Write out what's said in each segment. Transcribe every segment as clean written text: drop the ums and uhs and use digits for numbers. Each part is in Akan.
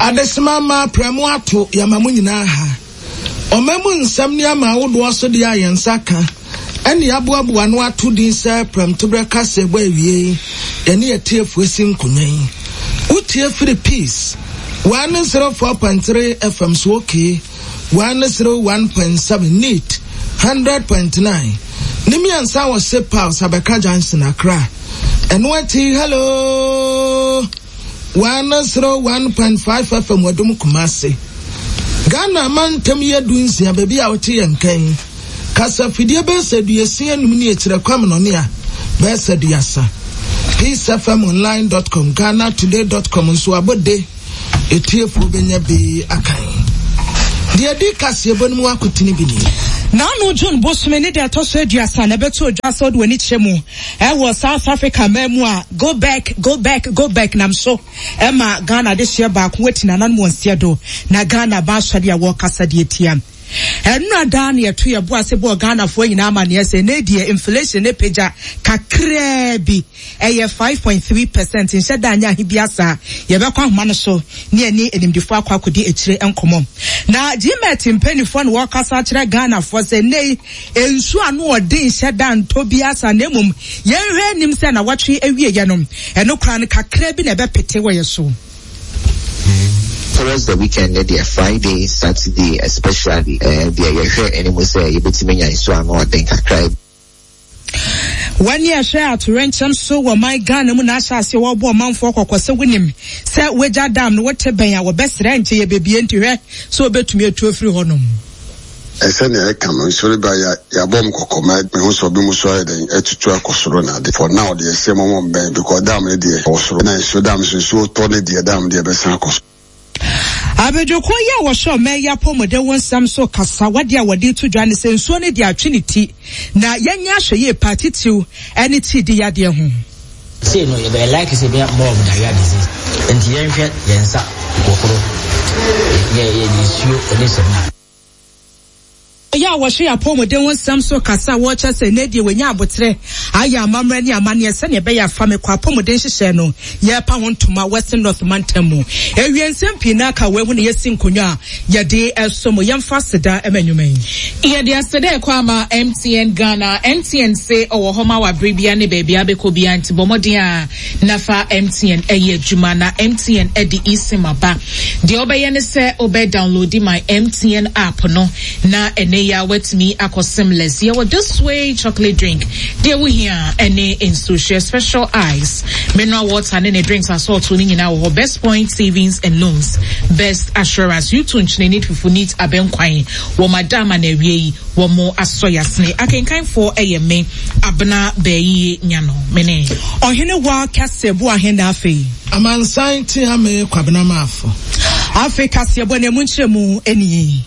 Adesima mma prɛmo ato yɛma mo nyinaa ha. Ɔma mu nsɛm ne ama ahodoɔ so deɛ a yɛn nsa ka ɛne yɛaboaboa ano ato din sɛ prɛmtoberɛ kaseɛbɔ awiei yɛne atiefoɔ si nkonwa yi. Wotie firi Peace 104.3 FM so okay 101.7 Neat 100.9 ne miɛnsa wɔ Ship House Abɛka Junction Accra. Ɛno akyi hello 101.5 FM Wadum Kumasi. Ghana amantam yɛ 16 baabi a wote yɛn nkan. Kasafidie bɛyɛ sɛ 65 ne akyirɛ kwamnɔne a bɛyɛ sɛ 30. PeaceFMOnline.com, GhanaToday.com nso abɔde etiefoɔ bɛnya bi akan. Deɛ ɛdi kaseɛbɔ no mu akotene bi nie. N'ano June bosome ne da ɛtɔ so 30 na ɛbɛto odwa sɛ wode w'ani kyerɛ mu ɛwɔ South Africa man mu a go back, go back, go back nam so ɛma Ghana adehyeɛ baako ati nananom wɔn nseɛ do na Ghana ba asɔre a wɔrekasa de atia. Ɛnora daa na yɛto yɛn bo ase bɔɔ Ghanafoɔ nyinaa amaneɛ sɛ ɛnɛ deɛ inflation no apagya kakraa bi, ɛyɛ 5.3 percent, nhyɛ da nyɛ ahe biara saa. Yɛbɛkɔ ahoma no so ne yɛne animdefoɔ akɔ akɔdi akyire nkɔmmɔ. Na GMET mpanimfoɔ na wɔrekasa akyerɛ Ghanafoɔ sɛ ɛnɛ yi nsuo ano ɔden nhyɛ da ntɔ biara saa na mmom yɛnhwɛ anim sɛ nawɔtwe awieɛ no ɛno koraa no kakraa bi na ɛbɛpete wɔ yɛn so. Towards the weekend ne deɛ Friday, Saturday especially eh, deɛ yɛhwɛ anim sɛ yɛbɛtumi anya nsuo ano ɔden kakra bi. Wɔne ɛhwɛ atoyerɛnkyɛm so wɔ man Ghana mu na ahyɛ aseɛ wɔrebɔ ɔmanfoɔ kɔkɔ sɛ wonim sɛ wagya dam no wote bɛn a wɔbɛsrɛ nkyɛ yɛbɛbie nti hwɛ sɛ wobɛtumi atu afiri hɔnom. Sɛnea ɛka no, nsɔre ba ya yɛabɔ mo kɔkɔ ma mehu sɛ ɔbi mo so ayɛ dɛn atutu akɔ soro na ade. For now deɛ ɛsɛ mo mo mbɛn because dam no deɛ ɛwɔ soro na nsuo dam so nsuo tɔ ne deɛ dam deɛ ɛbɛsan akɔ soro. Abadwokuo yi a wɔhwɛ ɔman yi apɔmuden ho nsɛm so kasa wɔ adeɛ a wɔde reto dwa ne sɛ nsuo no deɛ atwe ne ti na yɛnyɛ ahwɛyie paa titiriw ne tiidi yadeɛ ho. Sei no yɛbɛyɛ likely sɛ yɛbɛnya more of diarrhea disease. Nti yɛnhwɛ yɛn nsa hohoro, yɛ yɛ nsuo ne samina. Yɛ a wɔhwɛ yɛn apɔwmuden ho nsɛm so kasa a wɔkyerɛ sɛ nnɛ deɛ wɔanya aboterɛ ayɛ amammerɛ ne amanneɛ sɛnea ɛbɛyɛ a fa me kɔ apɔwmuden nhyehyɛe no yɛrepa ho ntoma Western North mantam mu. Awie nsɛm pii na aka wei ho na yɛasi nkonnwa a yɛde som mo. Yɛmfa aseda ma nnwuma yi. Yɛde aseda ɛkɔ ama MTN Ghana. MTN se ɔwɔ hɔ ma wo abere biara ne baabi a wobɛkɔ biara nti bɔ mmɔden a na fa MTN yɛ adwuma. Na MTN de eSIM aba. Deɛ wobɛyɛ ne sɛ wobɛ downloadi my MTN app no na ɛnɛ yi ara woatumi akɔ SIMless. Yɛwɔ This Way chocolate drink, deɛ wohia ɛne nsuohyɛ, special ice, mineral water ne ne drinks asɔɔto no nyinaa wɔ hɔ. Best Point Savings and Loans, Best Assurance, U2 nkyene neat fufu neat abɛnkwan, wɔn ada ama na awie yi wɔn asɔ yasene. Akenkanfoɔ ɛyɛ me, Abena Bɛɛyiye Nyano, me ne. Ɔhene wa kɛse boahe na afei. Amansan tea me Kwabena Maafo. Afei kaseɛbɔ na emu nkyerɛmu nie.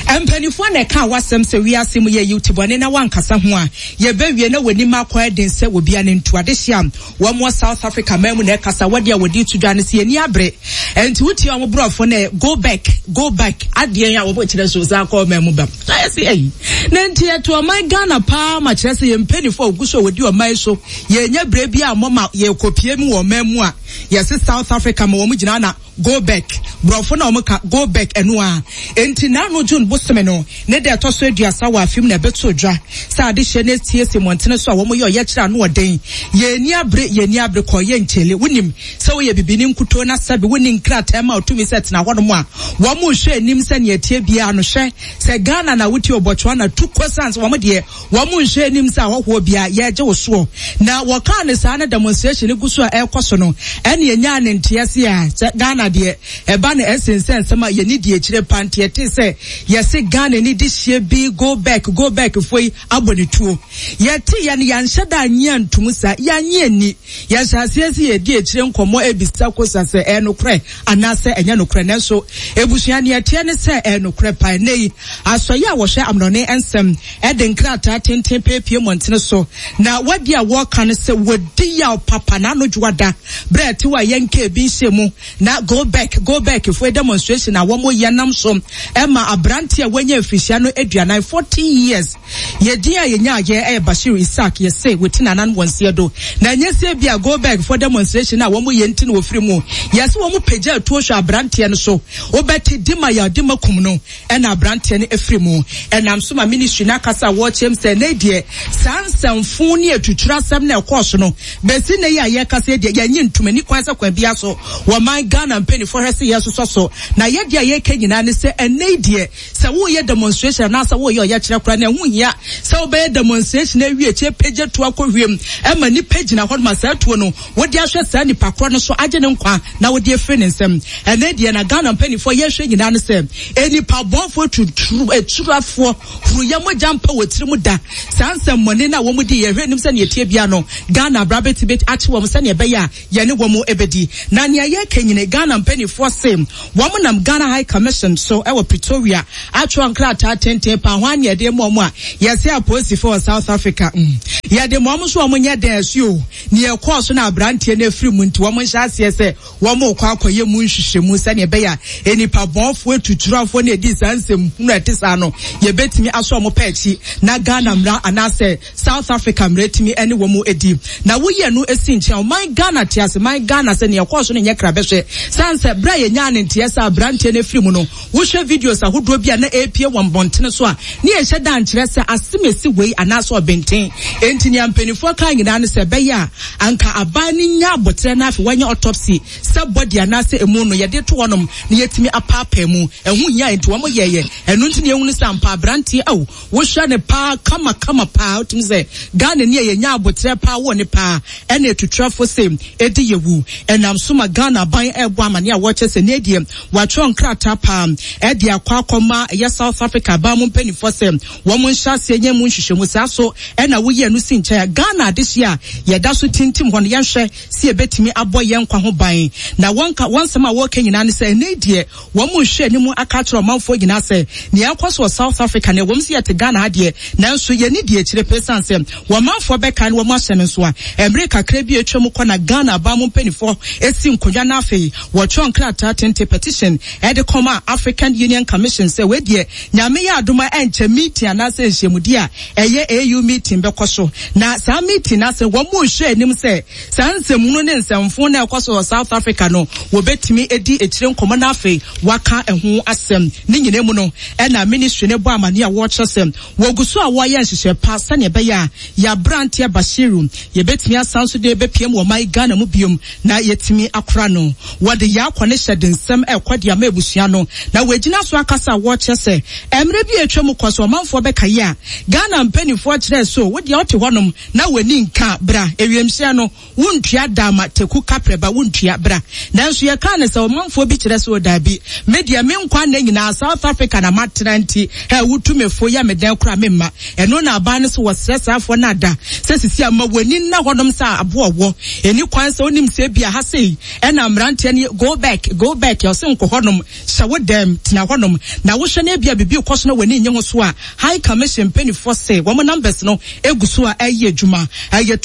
Mpanimfoɔ na ɛkaa w'asɛm sɛ wiase mu yɛyi wo tibɔne na woankasa ho a, yɛbɛwie na w'anim akɔ ayɛ den sɛ obia ne ntu adehye a wɔn wɔ South Africa man mu na ɛkasa wɔde a wɔde to dwa no sɛ yɛni abere ɛnti wotie wɔn borɔfo no ɛ go back go back adeɛ a wɔn kyerɛ so san kɔ ɔman mu ba na yɛsɛ ɛyi na nti yɛto ɔman Ghana paa ma kyerɛ sɛ yɛn mpanimfoɔ a wɔgu so a wɔdi ɔman so yɛnya berɛ bi a mɔma yɛkɔpie mu wɔ ɔman mu a yɛse South Africa ma wɔn gyina na Go back, brɔfo na wɔn ka go back ɛno ara. Enti n'ano June bosome no ne da ɛtɔ so 30 wɔ afe mu na ɛbɛtoo dwa sɛ adehyeɛ no asiesie mmɔntene so a wɔn yɛ ɔyɛkyerɛ ano ɔden. Yɛn ani abere, yɛn ani abere kɔ yɛ nkyele. Wonim sɛ woyɛ bibini nkutoo na sɛbe wonni nkrataa ma otumi sɛ tena hɔnom a wɔn nhwɛ anim sɛ nea ɛteɛ biara no. Hwɛ sɛ Ghana na wote o Botswana tu kɔ sane sɛ wɔn deɛ Wɔn nhwɛ anim sɛ ahɔhoɔ biara yɛregye wo soɔ. Na wɔkaa no saa na demonstration no gu so a ɛrekɔ so no, ɛne yɛnyaa ne nteɛ se a sɛ Ghana deɛ ɛba no ɛsen sɛ nsɛm a yɛni di akyire pa nti yɛtee sɛ yɛse Ghana ni dehyeɛ bi go back go back foɔ yi abɔ ne tuo. Yɛteeɛ no yɛanhyɛ da annye antum saa, yɛannye anni. Yɛhyɛ aseɛ sɛ yɛredi akyire nkɔmmɔ rebisa Kosa sɛ ɛyɛ nokorɛ anaasɛ ɛnyɛ nokorɛ. Nanso abusua nea ɛteɛ ne sɛ ɛyɛ nokorɛ paa. Ɛnnɛ yi asɔeɛ a wɔhwɛ amnɔne nsɛm de nkrataa tenten peepie mmɔntene so, na wadi a wɔreka no sɛ wɔdi yaw papa na ano dwoada berɛ a ɛtew a yɛnkaa bi nhyɛɛ mu na go. Go Back, Go Back foɔ demonstration a wɔn yɛ nam so ɛma aberanteɛ a wanya mfirihyia no aduanan, 40 years. Yɛ din a yɛnya ayɛ ɛyɛ Bashir Isaac, yɛse wɔti n'anan wɔ nseɛ do. Na ɛnyɛ sɛ bi a Go Back foɔ demonstration a wɔn yɛ nti na wɔfiri mu. Yɛse wɔn pagya atuo hwɛ aberanteɛ no so. Wobɛte Dima yɛ Dima kum no. Ɛna abranteɛ no afiri mu. Ɛnam so ma ministry no akasa a wɔrekyerɛ mu sɛ ɛnnɛ yi deɛ saa nsɛmfoo ne atuturo asɛm no a ɛkɔɔ so no bɛsi nnɛ yi a yɛrekasa yi deɛ yɛnnye ntom. Ɛnni kwan sɛ kwan biara so wɔman Ghana mpaninfoɔ hwɛ sɛ yɛresosɔ so. Na yɛ deɛ a yɛreka nyinaa ne sɛ ɛnnɛ yi deɛ sɛ woreyɛ demonstration anaasɛ woreyɛ ɔyɛkyerɛ koraa no ɛho nhia sɛ wobɛyɛ demonstration awie akyire pagya tuo akɔ wiem ma nnipa gyina hɔ no ma saa tuo no wode ahwɛ saa nipa korɔ no so agye ne nkwa na wode afiri ne nsam. Ɛnɛ deɛ na Ghana mpanimfoɔ yɛhwɛ nyinaa ne sɛ nnipa bɔnfoɔ tuturu aturafoɔ huruyɛ mogya mpa wɔ tirim da. Saa nsɛmmɔne no a wɔn di yɛhwɛ anim sɛ nea ɛteɛ biara no Ghana abra bɛtumi akye wɔn sɛnea ɛbɛyɛ a yɛne wɔn bɛdi. Na nea yɛreka nyine Ghana mpanimfoɔ se wɔn nam Ghana High Commission so wɔ Pretoria atwerɛ nkrataa tenten paa ho a nea ɛde ma wɔn a yɛse apolisifoɔ wɔ South Africa mm yɛde ma wɔn nso wɔn nyɛ dɛn ɛso o. Nea ɛkɔɔ so na aberanteɛ no afiri mu nti, wɔhyɛ aseɛ sɛ wɔrekɔ akɔyɛ mu nhwehwɛmu sɛdeɛ ɛbɛyɛ a nnipa bɔnfoɔ, atuturɔfoɔ ne ɛdii saa nsɛm hunu a ɛte saa no, yɛbɛtumi asɔ wɔn pɛ akyi na Ghana mmara anaasɛ South Africa mmara atumi ne wɔn adi. Na woyi ɛno si nkyɛn a, ɔman Ghana te ase, man Ghana sɛ nea ɛkɔɔ so no nyɛ krabɛhwɛ. Sane sɛ berɛ a yɛnyaa ne nteɛ sɛ aberanteɛ no afiri mu no, Wohwɛ videos ahodoɔ bi a na ɛrepue wɔ mmɔntene so a, ne yɛnhyɛ da nkyerɛ sɛ asemesi wei anaasɛ ɔbenten. Enti nea mpanimfoɔ kaa nyinaa ne sɛ ɛbɛyɛ a anka aban no nya aboterɛ na afei wɔanyɛ autopsy sɛ body anaasɛ emu no yɛde to hɔnom na yɛatumi apaapae mu. Ɛho hia enti wɔyɛeɛ. Ɛno nti na yɛhunu sɛ ampa aberanteɛ ao wohwɛ no paa kama kama paa wotumi sɛ Ghanani a yɛnya aboterɛ paa wɔ ne paa ɛna atuturafo se ɛdi yɛwu. Ɛnam so ma Ghana aban ɛrebɔ amaneɛ a wɔkyɛ sɛ nɛ deɛ Wɔatwerɛ nkrataa paa de akɔ akɔma ɛyɛ South Africa aban mu mpaninfoɔ sɛ wɔn nhyɛ aseɛ nyɛ mu nhwehwɛmu. Saa so na woyi ɛno si nkyɛn a, Ghana adehyeɛ a yɛda so tintim hɔ no, yɛnhwɛ sɛ yɛbɛtumi abɔ yɛn nkwa ho ban. Na wɔn ka, wɔn nsɛm a wɔreka nyinaa ne sɛ ɛnnɛ yi deɛ wɔn rehwɛ anim aka akyerɛ ɔmanfoɔ nyinaa sɛ nea ɛrekɔ so wɔ South Africa no, ɛwom sɛ yɛte Ghana ha deɛ, nanso yɛnni deɛ akyire pɛ ɛsiane sɛ wɔn manfoɔ bɛkae na wɔn ahyɛ no nso a, mmere kakra bi a atwam kɔ na Ghana aban mu mpaninfoɔ si nkonnwa na afei Wɔtwerɛ nkrataa tenten, petition, de kɔmaa African Union Commission sɛ wei deɛ Nyame yɛ adom a ɛnkyɛ meeting anaasɛ nhyiamudie a ɛyɛ AU meeting bɛkɔ so. Na saa meeting no ase no wɔn rehwɛ anim sɛ saa nsɛmhunu ne nsɛmfoo no a ɛkɔ so wɔ South Africa no wɔbɛtumi adi akyire nkɔmmɔ na afei wɔaka ɛho asɛm. Ne nyinaa mu no ɛna ministry no bɔ amaneɛ a wɔrekyerɛ sɛ Wɔgu so a wɔreyɛ nhyehyɛe pa sɛnea ɛbɛyɛ a yɛn aberanteɛ Bashiru, yɛbɛtumi asan nso de bɛpiam wɔ ɔman Ghana mu biom na yɛatumi akora no. Wɔde yɛn akɔ ne hyɛ de nsɛm rekɔ de ama abusua no na wɔagyina so akasa a wɔrekyerɛ sɛ mmerɛ bi a atwa mu kɔ sɛ ɔmanfoɔ bɛkae a Ghana mpaninfoɔ kyerɛɛ so wo deɛ wote hɔnom na w'ani nka bra ewiemhyɛn no Wontua da ma Teku kaprɛ ba wontua bra. Nanso yɛkaa no sɛ ɔmanfoɔ bi kyerɛ sɛ o daabi, me deɛ me nkwa nna nyinaa South Africa na matena nti hɛ wotu me fo yɛ me dɛn koraa memma. Ɛno na aban no so wɔsrɛ saa foɔ no ada sɛ sisi a ma w'ani nna hɔnom sɛ aboa ɔwɔ. Ɛni kwan sɛ wonim sɛ ebia ha sei ɛna mmeranteɛ no yɛ go back, go back ɔse nkɔ hɔnom, hyɛ wo dɛm, tena hɔnom na wohwɛ na ebia biribi rekɔ so na w'ani nnye ho so a High Commission mpaninfoɔ se wɔn numbers no gu so a ɛreyɛ adwuma. Ɛyɛ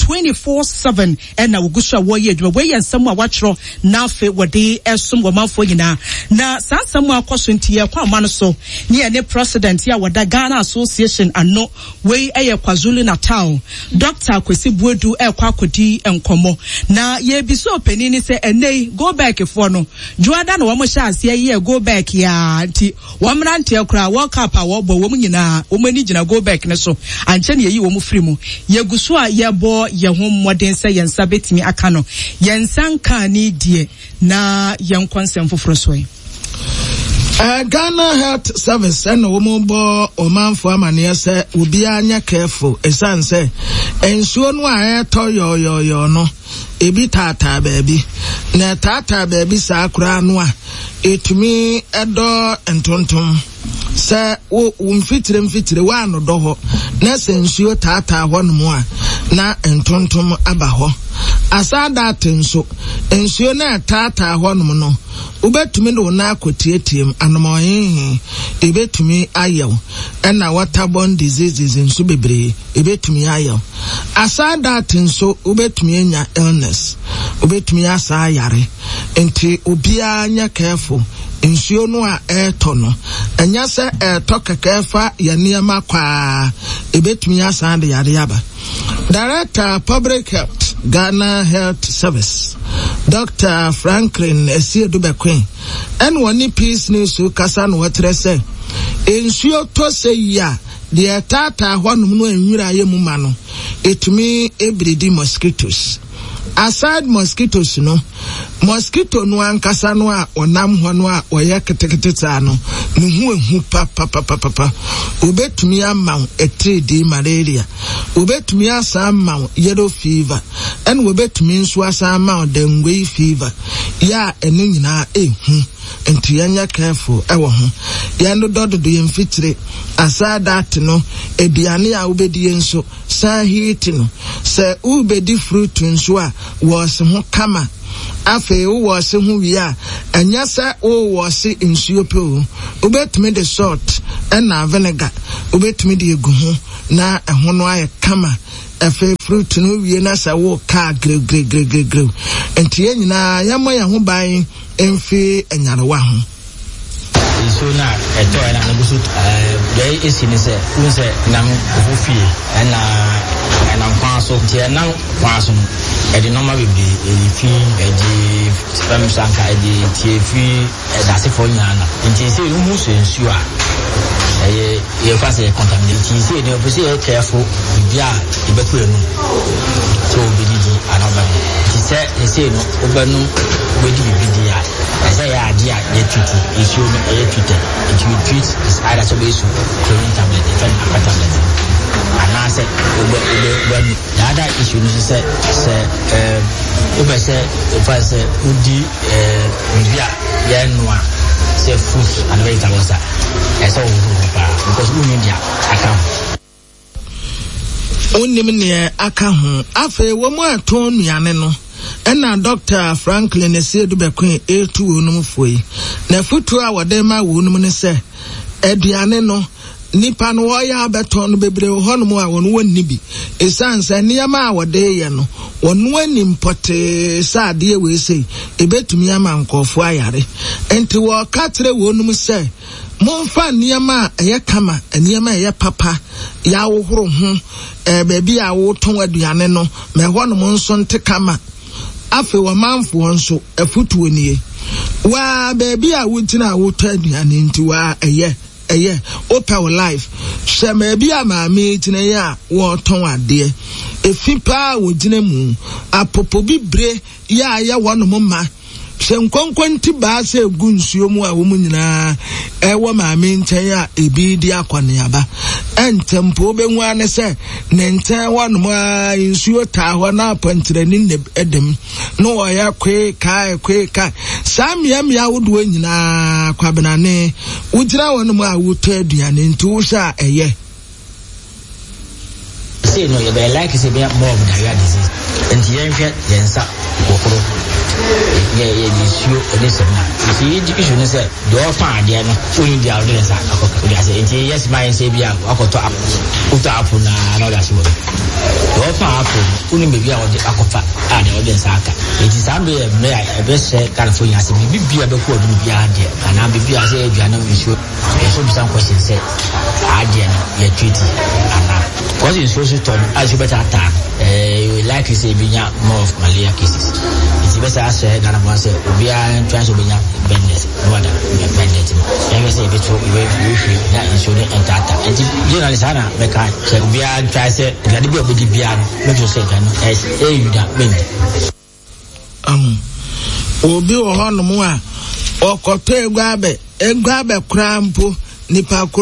24/7 na wɔgu so a wɔreyɛ adwuma. Wei yɛ nsɛm a wɔatwerɛ na afei wɔde resom wɔn manfoɔ nyinaa. Na saa nsɛm a akɔ so nti yɛrekɔ ama no so ne yɛne President a wɔda Ghana Association ano, wei yɛ KwaZulu Natal, Doctor Kwesi Boadu rekɔ akɔdi nkɔmmɔ. Na yɛrebisa ɔpanin no sɛ ɛnnɛ yi Go-Back foɔ no, Dwoada na wɔhyɛ aseɛ yɛɛ Go-Back yi ara nti Wɔn mmeranteɛ koraa, World Cup a wɔbɔ, wɔn nyinaa, wɔn ani gyina Goldberg no so. Ankyɛ na yɛyi wɔn firi mu. Yɛgu so a yɛbɔ yɛn ho mmɔden sɛ yɛn nsa bɛtumi aka no. Yɛn nsa nkaa ne deɛ, na yɛnkɔ nsɛm foforɔ so ɛ. Uh, Ghana Health Service ɛna wɔn bɔ ɔmanfo amaneɛ sɛ obiara nyɛ careful ɛsiane sɛ nsuo no a ɛretɔ yɔɔyɔɔyɔɔ no ebi taataa baabi, na ɛtaataa baabi saa koraa no a, etumi dɔ ntontom. Sɛ wo wo mfitire mfitire woanodɔ hɔ na sɛ nsuo taataa hɔnom a, na ntontom aba hɔ. Asaadaate nso, nsuo no a ɛtaataa hɔnom no, wobɛtumi de wo nan akɔtiatiam, anomɔhehe, ebetumi ayɛ wo, ɛna waterborne diseases nso bebree. Ebetumi ayɛ wo. Aside that nso, wobetumi anya illness. Wobetumi asa ayare. Nti obiara nyɛ careful. Nsuo no a ɛretɔ no, ɛnyɛ sɛ ɛretɔ kɛkɛ fa yɛn nneɛma kɔ ara, ɛbɛtumi asan de yareɛ aba. Director Public Health, Ghana Health Service, Dr. Franklin Asiedu Bekoe, ɛna ɔne Peace News kasa na ɔkyerɛ sɛ nsuo tɔ sɛ yi a, deɛ ɛtaataa hɔnom no a nwura yɛ mu ma no, ɛtumi bridi mosquitoes. Aside mosquitoes no, mosquito no ankasa no a ɔnam hɔ no a ɔyɛ ketekete saa no, ne ho ehu papapapapa. Obetumi ama wo atiridii malaria, obetumi asan ama wo yellow fever, ɛna obetumi nso asan ama wo dengue fever. Yɛ a ɛno nyinaa ehu, nti yɛnyɛ careful ɛwɔ ho. Yɛn dodɔ dodo yɛn mfikyire. Aside that no, aduane a wobedie nso, San heat no. Sɛ worebɛdi fruit nso a, wɔɔse ho kama. Afei wo wɔɔse ho wie a, ɛnyɛ sɛ wo wɔɔse nsuo pɛ o. Wobɛtumi de salt ɛna vinegar, wobɛtumi de agu ho na ɛho no ayɛ kama. Afei fruit no wie na sɛ woka a, grewgrewgrewgrew. Nti yɛn nyinaa yɛmmɔ yɛn ho ban mfi nyarewa ho. Nsuo no a ɛtɔeɛ no a na ɛgu so deɛ ɛsi ne sɛ wohu sɛ nam nkurɔfoɔ fie ɛna ɛnam kwan so nti ɛnam kwan so no ɛde nneɛma bebree ɛde fi ɛde fam sanka ɛde tie fi ɛdasefoɔ nyinaa na nti sɛ wohu sɛ nsuo a ɛyɛ yɛfa sɛ yɛ contaminate nti sɛ ɛde ɔpɛ sɛ yɛ careful biribi a yɛbɛkɔ anum sɛ wobɛdidi anaa wobɛnom nti sɛ ɛsei no wobɛnom wobɛdi biribi di a Ɛsɛ yɛ adeɛ a yɛ treat nsuo no ɛyɛ treated nti you treat is either sɛ wobɛyɛ su chlorine tablet yɛfrɛ no aqua tablet anaasɛ wobɛ wobɛ wobɛnu the other issue no nso sɛ sɛ ɛɛ wobɛ sɛ wofa sɛ wodi ɛɛ biribi a yɛnoa sɛ fruit and vegetables a ɛsɛ wohohoro ho paa because wonni deɛ aka ho. Wonnim neɛ aka ho. Afei wɔn a ɛtɔn nnuane no, ɛna Dɔkta Franklin Asiedu Bekoe retu wɔnom foɔ yi. N'afotuo a wɔde rema wɔnom ne sɛ, aduane no, nnipa no wɔreyɛ abɛtɔn no bebree wɔ hɔnom a wɔn wɔnni bi. Ɛsiane sɛ nneɛma a wɔde reyɛ no, wɔn anim pɔtee sɛ adeɛ wei sei, ɛbɛtumi ama nkurɔfoɔ ayare. Nti wɔreka kyerɛ wɔnom sɛ, Momfa nneɛma a ɛyɛ kama, nneɛma a ɛyɛ papa, yɛahohoro ho, eh, baabi a wotɔn aduane no, ma ɛhɔnom nso nte kama. Afei ɔmanfoɔ nso, afotuo nie. Waa, baabi a wogyina a wotɔ aduane nti, waa, ɛyɛ, ɛyɛ, wopɛ wo life. Hwɛ baabi a maame yi gyina yi a wɔretɔn adeɛ. Efi paa wɔgyina mu. Apopobibire yɛ a ɛyɛ hɔnom ma. Sɛ nkonkontibaa sɛ egu nsuo mu a wɔn nyinaa ɛwɔ maame nkyɛn a ebi redi akɔneaba. Ɛnkyɛ mpo wobɛhu ara ne sɛ ne nkyɛn hɔnom a nsuo taa hɔ na apɔnkyerɛni na ɛda mu na wɔyɛ koe kae koe kae. Saa mmeammea ahodoɔ nyinaa kwabenane wogyina hɔnom a wotɔ aduane nti wohwɛ a ɛyɛ. Sei no yɛbɛyɛ like sɛ yɛbɛnya more of diarrhea disease. Nti yɛnhwɛ yɛn nsa hohoro yɛ yɛ nsuo ne samina. Nti issue ne sɛ deɛ ɔtɔn adeɛ no wonni deɛ ɔde ne nsa akɔka wode ase. Nti yɛ sima yɛn sɛ bi a wakɔtɔ apple wotɔ apple na na ɔde ase wɔ mu. Deɛ ɔtɔn apple no wonim baabi a ɔde akɔfa a deɛ ɔde nsa aka. Nti saa mmerɛ yɛ mmerɛ a ɛbɛhyɛ Ghanafoɔ nyinaa sɛ biribi bi a bɛkɔ adum biara deɛ anaa biribi a sɛ aduane nsuo Yɛsɔ bisa question sɛ adeɛ no yɛ treat anaa? Because nsuo so tɔ no a nsuo bɛtaataa no ɛɛ likely sɛ ebi nya more of malaria cases. Nti bɛsɛ asrɛ Ghana fo sɛ obiara ntwa sɛ obɛnya bed net na wada bed net mu. Yɛhwɛ sɛ yɛbɛto yɛbɛhwehwɛ na nsuo no ntaataa. Nti generally saa na mɛka sɛ obiara ntwa sɛ aduane bi a obɛdi biara no make sure sɛ aduane no ɛyɛ yuda mɛndi. Ahu. Obi wɔ hɔnom a, ɔkɔtɔ eguabɛ, eguabɛ koraa mpo, nipa korɔ.